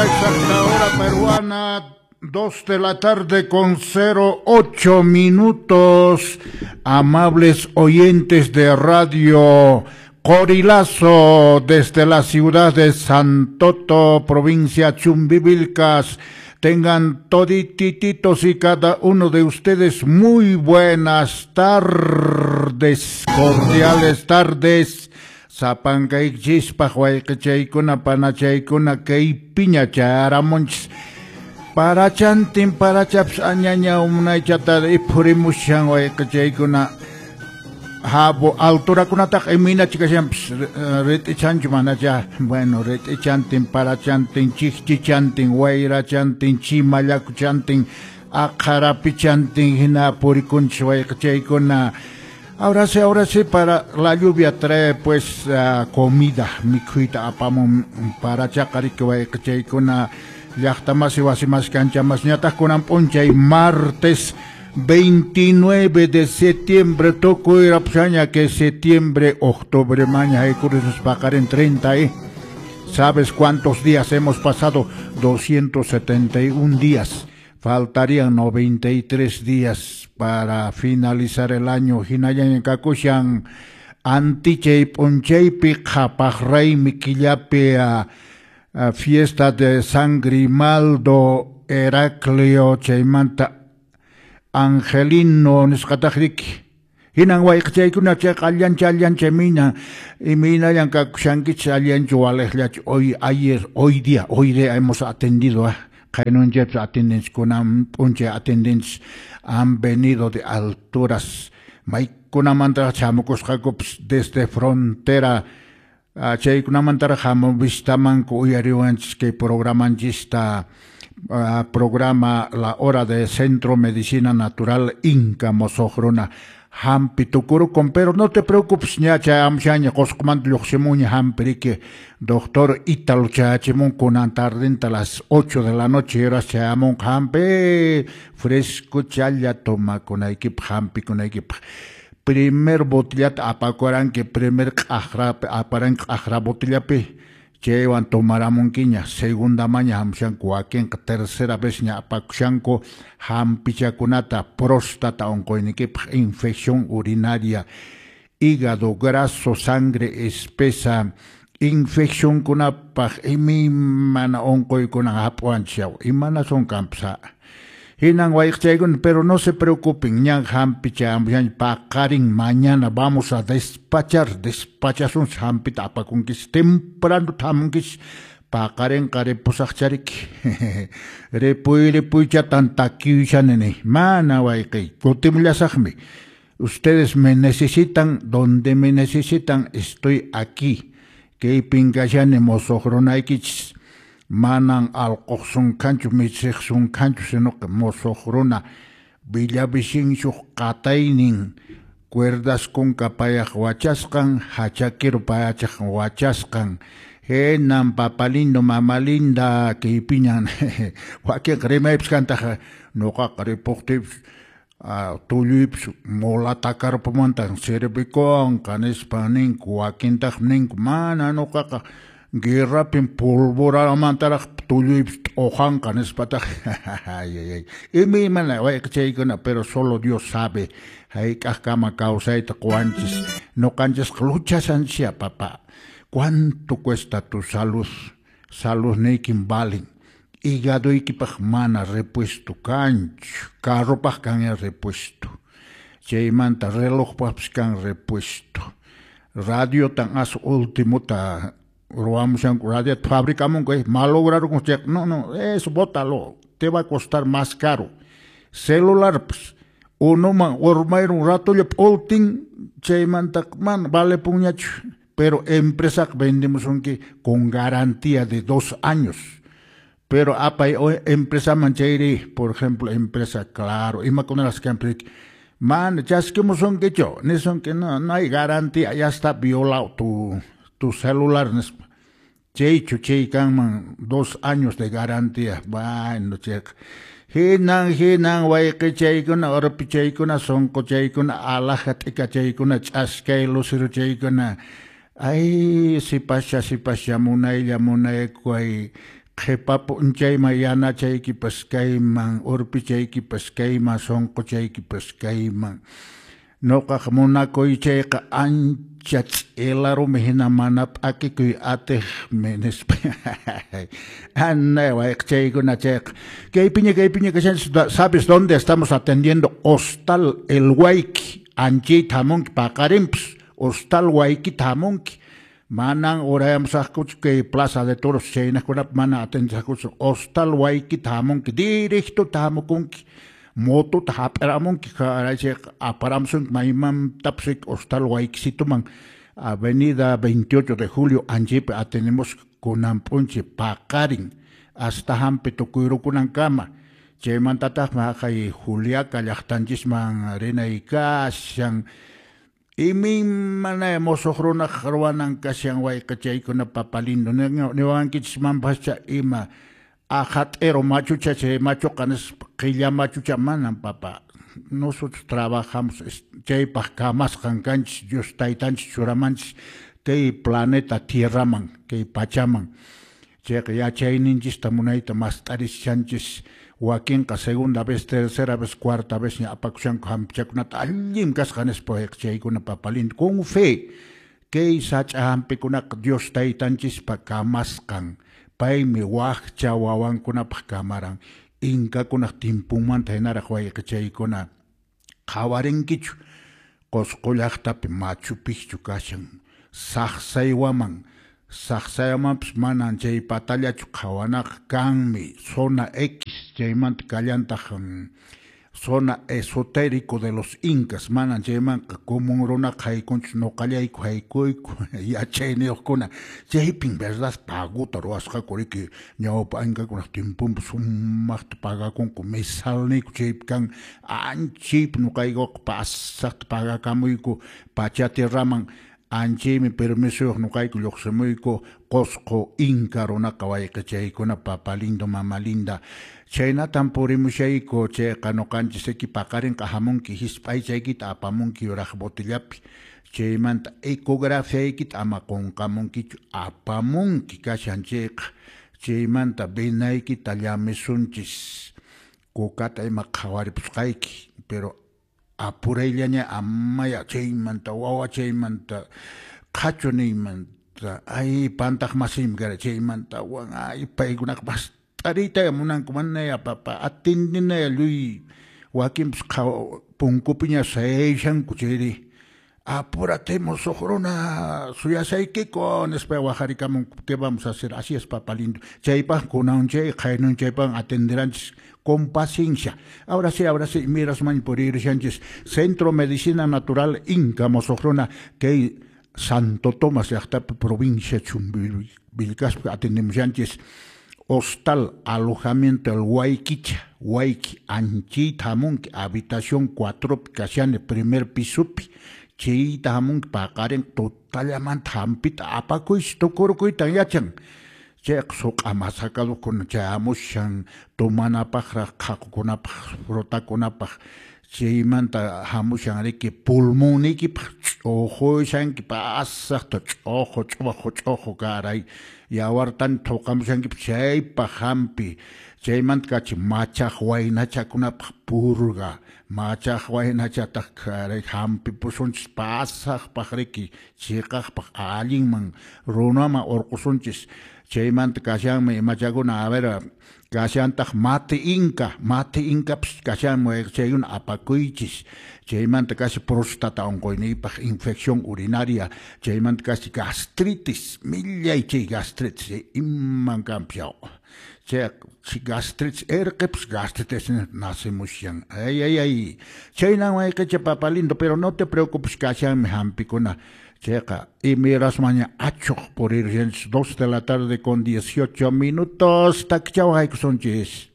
Exacta hora peruana, 2 de la tarde con 08 minutos. Amables oyentes de Radio Corilazo desde la ciudad de Santoto, provincia Chumbivilcas. Tengan toditititos y cada uno de ustedes muy buenas tardes, cordiales tardes. Sapankaykichispaq wayqichaykuna panachaykuna kaypiña chayaramunchis. Parachantin parachapas añaña munaychata iphurimushan wayqichaykuna. Habo alturakunataqa imaynachi kashanpas rit'ichanchu manacha. Bueno, rit'ichantin parachantin chikchichantin wayrachantin chimallakuchantin aqharapichantin hina purikunchis wayqichaykuna. Ahora sí, para la lluvia trae pues comida, mikhuyta apamun parachaqa riki wayqichaykuna llaqtamasi wasimas kanchamas ñataq kunan p'unchay martes 29 de septiembre tukuy rapshaña que septiembre, octubre, maña haykurispas paqarin 30, ¿eh? ¿Sabes cuántos días hemos pasado? 271 días. Faltarían 93 días para finalizar el año. Hinallaña kakushan antichay p'unchaypi qhapaq raymi killapi fiesta de San Grimaldo Heraclio chaymanta Angelino nisqataq riki. Hinan wayqichaykuna chayqa allancha allancha mina imaynallan kakushankichis allanchu waliqllachu. Hoy, ayer, hoy día hemos atendido a qaynunchaypas atendenchis kunan p'unchay atendenchis han venido de alturas maykunamantaraq chamukusqakupas desde frontera chaykunamantaraq hamuvistamanku uyariwanchis kay programanchista programa La Hora de Centro Medicina Natural Inca Mosoq Runa hampi tukurukun, pero no te preocupes, ña chayamushaña Qusqumanta lluqsimunña hampi riki doctor Ítalo chayachimun kunan tardenta las 8 de la noche horas chayamunqa hampi fresco challa tomakunaykipaq hampikunaykipaq. Primer botellata apakuranki primer q'aqrapi aparanki q'aqra botellapi chaywan tomaramunkiña, segunda maña hamushanku wakinqa tercera vez ña apakushanku hampichakunata próstata unquyniykipaq, infección urinaria, hígado graso, sangre espesa, infeccionkunapaq imaymana unquykuna hap'uwanchis yaw, imanasun kanpas. Hinan wayqichaykuna, pero no se preocupen, ñan hampi chayamushaña paqarin mañana vamos a despachar, despachasunchis hampita apakunkis, temprano hamunkis, paqarinqa ripusaqchariki. Ripuy ripuychatan takiyushani ni, mana wayqiy, kutimullasaqmi. Ustedes me necesitan, donde me necesitan, estoy aquí. Kaypin kashani mosoq runaykichis. Manan alquq sunkanchu michiq sunkanchu sino que mosoq runa Villavicencio qataynin cuerdas kunka payaq wachasqan hachaquero payachaq wachasqan hinan papa lindo mama linda kaypiñan wakinqa rimaypas kantaq nuqaqa ripuqtiypas tulluypas mula takarpumantan servikunqa nispa ninku wakintaqmi ninku mana nuqaqa guerrapin polvoramantaraq tulluypas t'uqanqa nispataq ay imaymana wayqichaykuna, pero solo Dios sabe hayk'aqkama kawsayta quwanchis nuqanchisqa luchashanchis papá. ¿Cuánto cuesta tu salud? Saludniykin valen. Hígadoykipaq mana repuesto kanchu, carropaq kan repuesto, chaymanta relojpaqpis kan repuesto, radiotan as ultimota ruwamushanku, radiota fabricamunku, malograron, no, no, eso bótalo, te va a costar más caro. Celular, pues, unuman urmayrun ratolla p'ultin, chaymanta mana vale puñachu, pero empresaqa vendemusunki con garantía de 2 años. Pero apay empresaman chayri, por ejemplo, empresa Claro, imakunalas kanpis mana chaskimusunkichu, nisunki no, no hay garantía, ya está violado tu celular nispa. Chaychu chay kanman 2 años de garantía. Bueno, chayqa hinan hinan wayqichaykuna urpichaykuna sunquchaykuna alaja t'ikachaykuna ch'askay luciruchaykuna. Ay, sipascha sipascha munaylla munaykuay Qhipa p'unchayman yanachaykipas kayman, urpichaykipas kayman, sunquchaykipas kayman. Nuqaq munakuy chayqa ancha ch'ila rumi hina mana p'akikuy atiqmi nispa. Anay wayqichaykuna chayqa. Kaypiña kaypiña kashanchis, ¿sabes dónde estamos atendiendo? Hostal El Huayqui, anchayta hamunki paqarinpas, Hostal Huayquita hamunki. Manan urayamusaqkuchu kay Plaza de Toros chaynaqkunapi mana atendesaqkuchu. Hostal Huayquita hamunki, directota hamukunki. Motota hap'iramunki, chayqa aparamusunki maymantapas Hostal Huayquisituman, Avenida 28 de Julio anchaypi atendemos kunan p'unchay paqarin hasta hampi tukuyrukunankama. Chaymantataqmi haqay Juliaca llaqtanchisman rinay kashan. Imaymana musuq runaq ruwanan kashan wayqichaykuna papa lindo niwankichismanpascha ima ajat'ero machucha chay machuqa nispa qilla machucha manan papa. Nosotros trabajamos chaypaq kamasqan kanchis Dios taytanchis churamanchis kay planeta Tierraman kay pachaman. Chayqa yachayninchista munayta mast'arishanchis wakinqa segunda vez, tercera vez, cuarta vez ña apakushanku hampichakunata allin kasqa nispa wayqichaykuna papa lindo con fe kay sach'a hampikunaqa Dios taytanchispa kamasqan. Paymi wakcha wawankunapaq kamaran inkakunaq timpunmanta hinaraq wayqichaykuna qhawarinkichu Qusqu llaqtapi Machu Picchu kashan Saqsaywaman Saqsaywamanpas manan chay patallachu qhawanaqa kanmi zona X chaymanta kallantaq zona esotérico de los incas manan chaymanqa común runaqa haykunchu nuqallayku haykuyku yachayniyuqkuna chaypin verdad paguta ruwasqaku riki ñawpa inkakunaq timpunpi sumaqta pagakunku mesalniyku chaypi kan anchaypi nuqaykuqa pasaqta pagakamuyku Pachatierraman anchaymi permisoyuq nuqayku lluqsimuyku Qusqu inka runaqa wayqichaykuna papa lindo mama linda chhaynatan purimushayku chayqa nuqanchis riki paqarinqa hamunki hisp'aychaykita apamunki yuraq botellapi chaymanta ecografiaykita ama qunqamunkichu apamunki kashan chayqa chaymanta venaykita llamisunchis kukata ima qhawaripusqayki pero apurayllaña amaya chaymanta wawa chaymanta qhachu niymanta ay pantaq masiymi kara chaymanta wan ay paykunaqa mast'ariyta munanku manaya papa atendinaya lluy wakinpas punkupiña sayashanku chayri apúrate musuq runa suyasaykiku nispa waqarikamunku ¿qué vamos a hacer? Así es papa lindo chaypaq kunanchay qaynunchaypaq atenderanchis con paciencia. Ahora sí, mirasman purirushanchis Centro Medicina Natural Inca musuq runa kay Santo Tomás llaqtapi provincia Chumbivilcaspi atendemushanchis Hostal alojamiento el Huayquicha, Huayqui anchayta hamunki habitación 4 kashani primer pisopi chayta hamunki paqarin tutallamanta hampita apakuysi tukurukuytan yachan chayqa suq'a masakadukuna chayamushan tomanapaqraq qhaqukunapaq frutakunapaq chaymanta hamushan riki pulmonniykipaq ch'uqushanki pasaqta ch'uqu ch'uqu ch'uqu karay yawartan thuqamushankipas chaypaq hampi chaymanta kachi machaq waynachakunapaq purga machaq waynachataq karay hampipusunchis pasaqpaq riki chiqaqpaq allinman runaman urqusunchis chaymanta kashanmi imachakuna a ver kashantaq mate inka mate inkapas kashanmi chaykuna apakuychis chaymanta kashi próstata unquyniypaq infección urinaria chaymanta kashi gastritis millay chay gastritis iman kanpas yaw chay gastritis erqipas gastritis nacemushan ay ay ay chaynan wayqicha papa lindo pero no te preocupes kashanmi hampikuna chayqa imirasmaña achuq purirushanchis 2 de la tarde con 18 minutos takchaw haykusunchis.